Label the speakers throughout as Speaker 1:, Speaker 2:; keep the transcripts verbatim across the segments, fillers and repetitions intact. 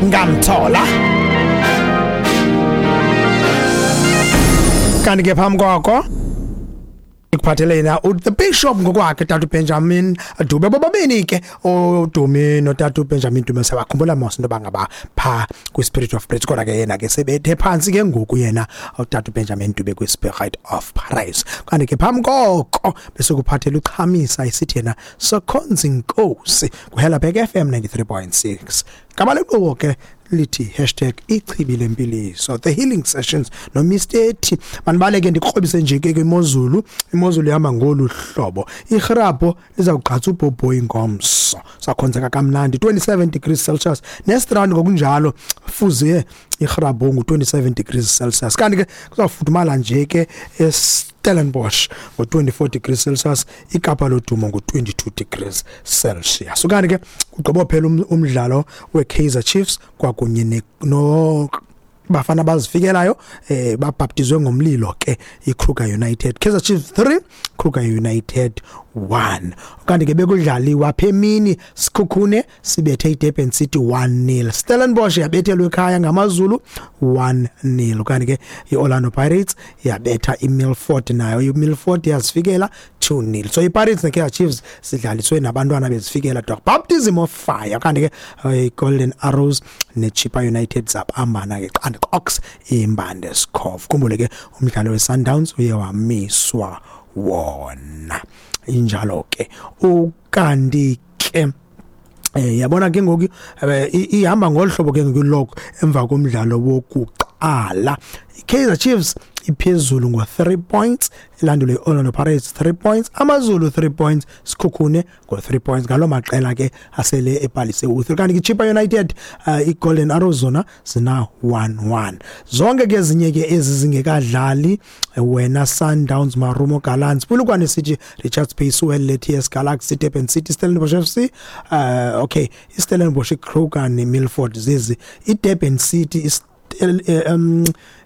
Speaker 1: Ngamthola. Kanti ke phambi kwakho ikuphathele yena the bishop ngokwakhe tata Benjamin Dube. Bobabini ke uDumi notata Benjamin Dube sabakhumbula mos into bangaba pha kwi Spirit of Praise, kodwa ke yena ke sebethe phansi ke ngoku yena utata Benjamin Dube kwi Spirit of Praise. Kanti ke phambi koko bese kuphathela uChamisa isithi yena Sokhonza Inkosi kuHelabek F M ninety-three point six. Kabaleqo ke lithi hashtag ichibi lempiliso, the healing sessions no Mister T. Manibaleke ndikrobise nje ke imozulu, imozulu ihamba ngolu hlobo. Igrabho lizawugqatsa ubhobhoyi ngomso, sakhonzeka kamnandi twenty-seven degrees Celsius, nestrand ngokunjalo fuze igrabho ngu twenty-seven degrees Celsius. Kanti ke kuzawufudumala nje ke Stellenbosch ngo twenty-four degrees Celsius, iKapa lodumo ngo twenty-two degrees Celsius. Kanti ke kugqibo phela umdlalo weKaizer Chiefs kwakunye no bafana bazifikelayo eh babhaptizwe ngomlilo ke iKruger United. Kaizer Chiefs three, Kruger United one. Kanti ke bekudlaliwa phemini Sikhukhune sibethe iDurban City one nil. Stellenbosch yabethelwe ekhaya ngamaZulu one nil. Kanti ke iOrlando Pirates yabetha iMilford, nayo iMilford yazifikela two nil. So iPirates neKaizer Chiefs sidlaliswe nabantwana bezifikela dog baptism of fire. Kanti ke iGolden Arrows neChippa United zabambana ke qanda Ox imbande Skov. Khumbule ke umdlalo weSundowns uye wamiswa wona. Injalo ke ukanti ke eh yabona ke ngoku ihamba ngolhlobo ke ngoku emva komdlalo wokuqala. Kaizer Chiefs iphezulu ngo three points, ilandule iOrlando Pirates three points, AmaZulu three points, Sikhukhune ngo three points. Ngalo maqela ke asele ebhalise u three. Kanti iChippa United uh, iGolden Arrows zona zina one one. Zonke ke ezinye ke ezizingekadlali wena Sundowns, Marumo Gallants, Polokwane City, Richards Bay, Suwelle, T S Galaxy, Durban City, Stellenbosch F C, uh, okay, iStellenbosch, iKruger neMilford zizi. iDurban City is um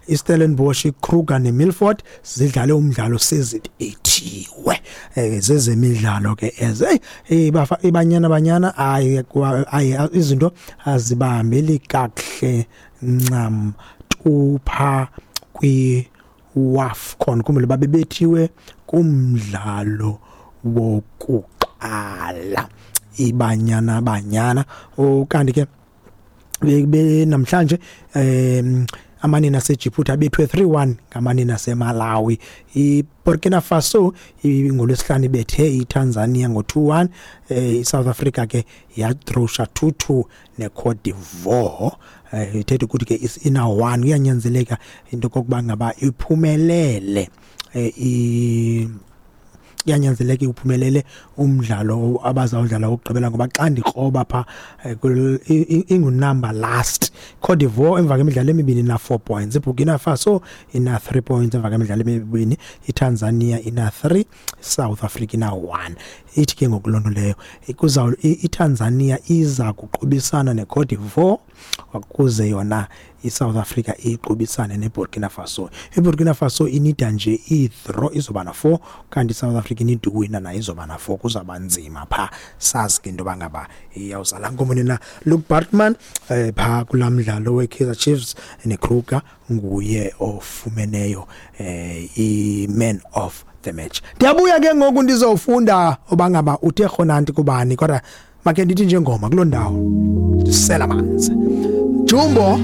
Speaker 1: iStellenbosch, iKruger neMilford zidlale umdlalo sezithiwe eh zezemidlalo ke eze hey bafa ibanyana banyana ayi ayi izinto azibambeli kakuhle ncam tupha kwi WAFCON. Kumele babebethiwe kumdlalo wokuqala ibanyana banyana. Kanti ke be namhlanje em amanina aseJibuti abethwe three one ngamanina aseMalawi. iBurkina Faso ngolwesihlanu ibethe iTanzania ngo two one. iSouth Africa ke yadrosha two two neCote d'Ivoire. Ithethe ukuthi ke ina one kuyanyanzeleka into kokuba ngaba iphumelele i iyanyanzeleka uphumelele umdlalo abazawudlala ukugqibela, ngoba xa ndikroba pha ingunumber last. Cote d'Ivoire emva kwemidlalo emibini ina four points, iBurkina Faso ina three points emva kwemidlalo emibini, iTanzania ina three, South Africa ina one. Ithi ke ngokulonto leyo kuza iTanzania iza kuqubisana neCote d'Ivoire ukuze yona iSouth Africa iqubisane neBurkina Faso. iBurkina Faso inida nje i-draw izoba na four, kanti iSouth Africa inida uwina nayo izoba na four. Kuzaba nzima pha, sazi ke into bangaba iyawuzala nkomoni na Luke Bartman eh, pha kulamdlalo weKaizer Chiefs neKruger nguye ofumeneyo eh, i-man of the match. Ndiyabuya ke ngoku ndizofunda obangaba uthe khona kubani, kodwa make ndithi njengoma kuloo ndawo sela amanzi. Jumbo